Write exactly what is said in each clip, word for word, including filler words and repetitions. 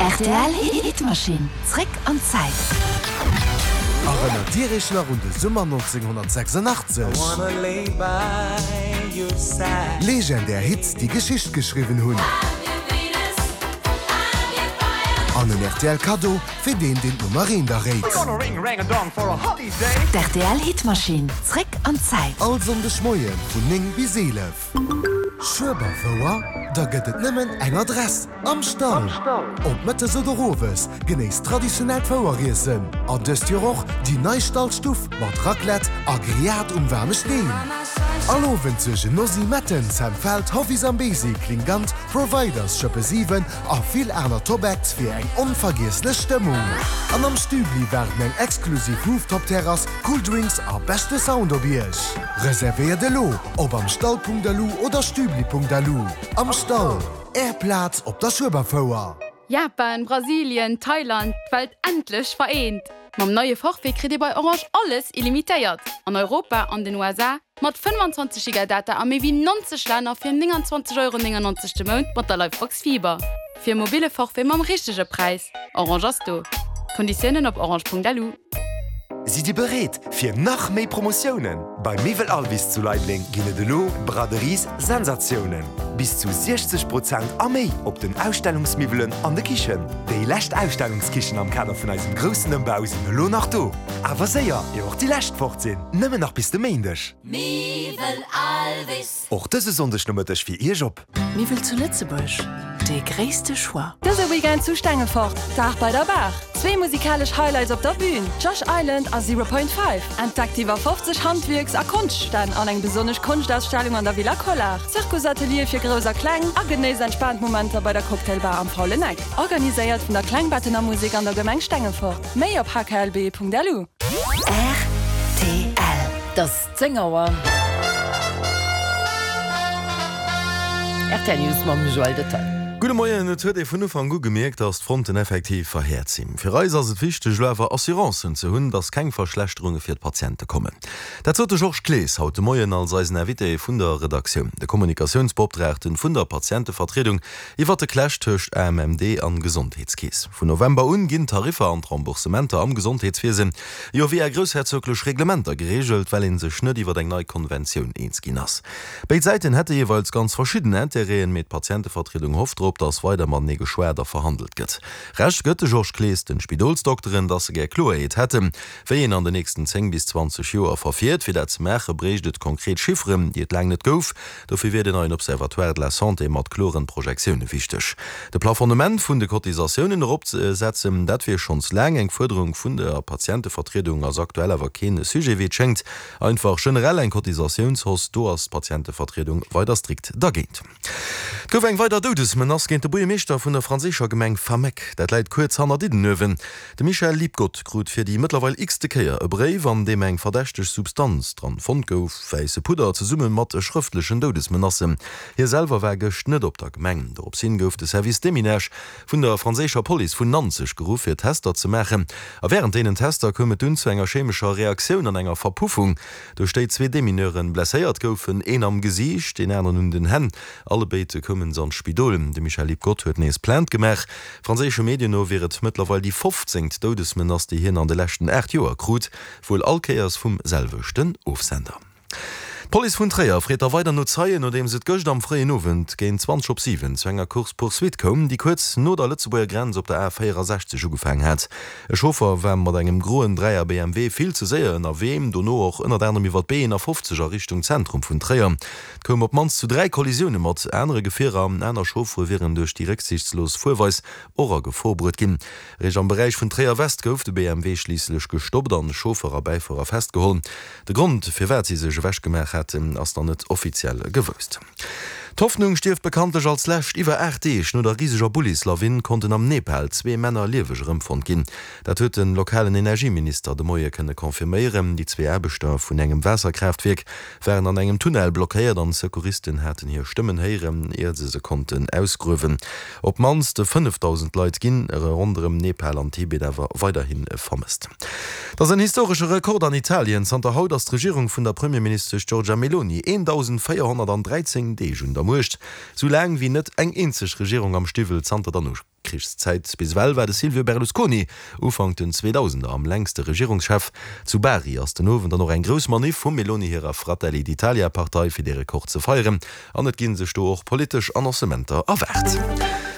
Rtl Hitmaschinn, zréck an d'Zäit. Erënnert Dir Iech nach un de Summer nonzénghonnertsechsundachtzeg? Legendär Hits, déi Geschicht geschriwwen hunn. An en rtl Kaddo fir deen, deen d'Nummer eent erréit. D'rtl Hitmaschinn, zréck an d'Zäit. All Sonndeg Moie vun néng bis eelef. Schueberfouer? Da gëtt et nëmmen eng Adress, Am Stall! Ob mëttes oder owes, genéisst traditionellt Foueriessen an dëst Joer och déi nei Stallstuff mat Raclette a Grillade um waarme Steen. All Owend suergen Nosy Metten, Sam Feldt, Hovi Zambezi, Klingant, Providers, Schëppe siwen a vill aner Top-Acts fir eng onvergiesslech Stëmmung. An am Stübli waarden eng exklusiv Rooftop-Terrass, cool Drinks a beschte Sound op Iech. Reservéiert elo op amstall Punkt lu oder stübli Punkt lu. Am Stall, Är Plaz op der Schueberfouer. Japan, Brasilien, Thailand, d'Welt endlech vereent! Mam neie Forfait kritt Dir bei Orange alles illimitéiert. An Europa, an den U S A, mat fënnwanzwanzeg Giga Data a méi wéi nonzeg Länner fir nénganzwanzeg Euro néngannonzeg de Mount mat der Livebox Fiber. Fir e mobile Forfait mam richtege Präis. Orange ass do. Konditiounen op orange Punkt L U. Sidd Dir bereet fir nach méi Promotiounen? Bei Miwwel Alvis zu Leideleng ginn et elo Braderies Sensatiounen. Bis zu siechzeg Prozent a méi op den Ausstellungsmiwwelen an de Kichen. Déi lescht Ausstellungskichen am Kader vun eisem groussen Ëmbau sinn elo nach do. Awer séier, ier och déi lescht fort sinn. Nëmmen nach bis de Méindeg. Miwwel Alvis. Och dëse Sonndegnomëtteg fir Iech op. Miwwel zu Lëtzebuerg, de gréisste Choix. Dëse Weekend zu Stengefort, Dag bei der Baach. Zwee musikalesch Highlights op der Bühn, Josh Island a Zero Point Five. Entdeckt iwwer fofzeg Handwierks a Konschtstänn an eng besonnesch Konschtausstellung an der Villa Collart. Zirkusatelier fir Grouss a Kleng a genéisst entspaant Momenter bei der Cocktailbar am Faulen Eck. Organiséiert vun der Klengbettener Musek an der Gemeng Stengefort. Méi op H K L B Punkt L U. R T L. Et ass zéng Auer. R T L News mam Joël Detail. Gudde Moien, Et huet ee vun Ufank u gemierkt, datt d'Fronten effektiv verhäert sinn. Fir eis ass et wichteg, elo awer Assurancen ze hunn, datt keng Verschlechterunge fir d'Patiente kommen. Dat sot de Georges Clees haut de Moien als eisen Invité vun der Redaktioun, de Kommunikatiounsbeoptraagten vun der Patientevertriedung, iwwer de Clash tëscht A M M D an Gesondheetskeess. Vun November un ginn d'Tariffer an d'Remboursementer am Gesondheetswiesen jo via groussherzoglech Reglementer gereegelt, well ee sech net iwwer eng nei Konventioun eens ginn ass. Béid Säiten hätte jeeweils ganz verschidden Interêten, mee d'Patientevertriedung hofft drop, datt weider matenee geschwat a verhandelt gëtt. Recht gëtt de Georges Clees den Spidolsdokteren, datt se gär Kloerheet hätten, wéi een an den nächsten zéng bis zwanzeg Joer verfiert. Fir dat ze maache bréicht et konkret Chifferen, déi et laang net gouf. Dofir wier den neien Observatoire de la Santé mat kloren Projektioune wichteg. De Plafonnement vun de Cotisatiounen eropzesetzen, dat wier schonns laang eng Fuerderung vun der Patientevertriedung, ass aktuell awer kee Sujet, wéi et schéngt. Einfach generell eng Cotisatiounshausse, do ass d'Patientevertriedung weider strikt dergéint. Et gouf eng weider Doudesmenace géint de Buergermeeschter vun der franséischer Gemeng Fameck. Dat läit kuerz hanner Diddenuewen. De Michel Liebgott krut fir déi mëttlerweil x-te Kéier e Bréif, an deem eng verdächteg Substanz dran fonnt gouf, wäisse Pudder, zesumme mat schrëftlechen Doudesmenacen. Hie selwer war gëscht net op der Gemeng. Dorops hin gouf de Service Déminage vun der franséischer Police vun Nanzeg geruff, fir Tester ze maachen. A wärend deenen Tester koum et dunn zu enger chemescher Reaktioun an enger Verpuffung, duerch déi zwee Demineure blesséiert goufen, een am Gesiicht, deen aneren un den Hänn. Allebéid koumen se an d'Spidol. De Michel Liebgott huet nees Plainte gemaach. Franséische Medien no wier et mëttlerweil déi fofzéngt Doudesmenace, déi hien an de leschten aacht Joer krut, wuel all Kéiers vum selwechten Ofsender. D'Police vun Tréier freet da weider no Zeien, nodeems et gëscht am fréien Owend géint zwanzeg op siwen zu enger Course-poursuite koum, déi kuerz no der Lëtzebuerger Grenz op der A véierasechzeg ugefaangen hat. E Chauffer war mat engem groen Dräier B M W vill ze séier ënnerwee, dono och ënnert anerem iwwer d'B eenafofzeg a Richtung Zentrum vun Tréier. Et koum op d'mannst zu dräi Kollisioune mat anere Gefierer. Aner Chauffere wieren duerch déi récksiichtslos Fuerweis och a Gefor bruet ginn. Eréischt am Beräich vun Tréier-West gouf de B M W schliisslech gestoppt an Chauffer a Bäifuerer festgeholl. De Grond, firwat si sech ewechgemaach haten, ass nach net offiziell gewousst. D'Hoffnung stierft bekanntlech als lescht. Iwwer aacht Deeg no der riseger Bullislawin konnten am Nepal zwee Männer lieweg erëmfonnt ginn. Dat huet de lokalen Energieminister de Moie kënne confirméieren. Déi zwee Aarbechter vun engem Waasserkraaftwierk waren an engem Tunnel blockéiert an Secouristen haten hir Stëmmen héieren, ier se se konnten ausgruewen. Op d'mannst fënnefdausend Leit ginn ronderëm Nepal an Tibet awer weiderhi vermësst. Dat ass en historesche Rekord an Italien. Zanter haut ass d'Regierung vun der Premierministesch Giorgia Meloni eendausendvéierhonnertdräizéng Deeg un der Muecht, sou laang wéi net eng eenzeg Regierung am Stiwwel zanter der Nokrigszäit. Bis ewell war de Silvio Berlusconi Ufank den Zweedausender am längste Regierungschef. Zu Bari ass den Owend dann och eng grouss Maniff vum Meloni hirer Fratelli d'Italia Partei fir dee Rekord ze feieren an et gi sech do och politesch Annoncementer erwaart.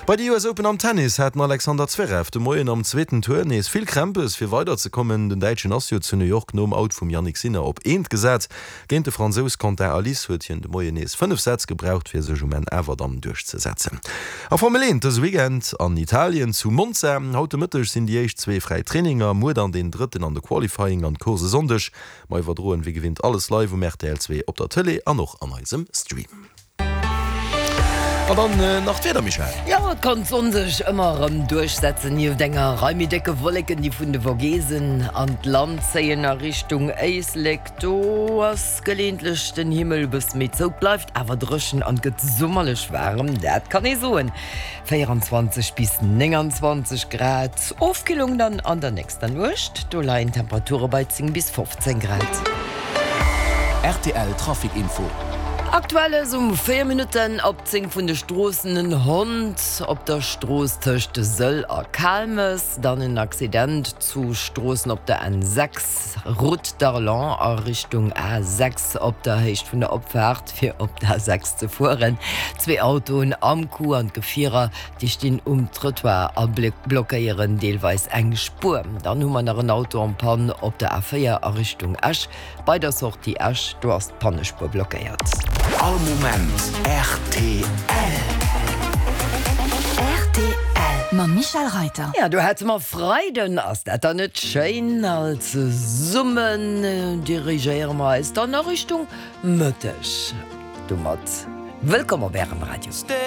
Bei de US Open am Tennis hat den Alexander Zverev de Moien am zweeten Tour nees vill Krämpes fir weider ze kommen. Den Däitschen ass jo zu New York nom Out vum Jannik Sinner op eent gesat. Géint de Fransous Quentin Halys huet hien de Moien nees fënnef Sätz gebraucht fir sech um Enn awer dann duerchzesetzen. A Formel eent dëse Weekend an Italien zu Monza. Haut de Mëtteg sinn déi éischt zwee fräi Traininger, muer dann deen drëtten an de Qualifying an d'Course e Sonndeg. Mer iwwerdroen wéi gewinnt alles live um rtl zwee op der Tëlee an och an eisem Stream. An dann nach d'Wieder, Michèle. Jo, et kann d'Sonn sech ëmmer erëm duerchsetzen. Nieft enger Rei méi décke Wolleken, déi vun de Vogesen an d'Land zéien a Richtung Éislek, do ass geleeëntlech den Himmel e bësse méi zou, et bleift awer dréchen an gëtt summerlech waarem, dat kann ee soen, véierundzwanzeg bis nénganzwanzeg Grad. Ofkillung dann an der nächster Nuecht, do leien d'Temperature bei zéng bis fofzéng Grad. Rtl Trafic Info. Aktuell ass um véier Minutten op zéng vun de Stroossen en Hond op der Strooss tëscht Sëll a Kaalmes, dann en Accident zu Stroossen op der N sechs, Route d'Arlon a Richtung A sechs op der Héicht vun der Opfaart fir op d'A sechs ze fueren. Zwee Autoen am Coup an d'Gefierer déi stinn um Trëttoir a blockéieren deelweis eng Spuer. Dann hu mer nach en Auto en panne op der A véier a Richtung Esch. Bei der Sortie Esch, do ass d'Pannespuer blockéiert. All Moment rtl. Rtl mam Michèle Reyter. Ja, do hätte mer Freiden. Ass dat dann net schéin? All zesummen dirigéiere mer eis dann a Richtung Mëtteg. Domat wëllkomm op Ärem Radio.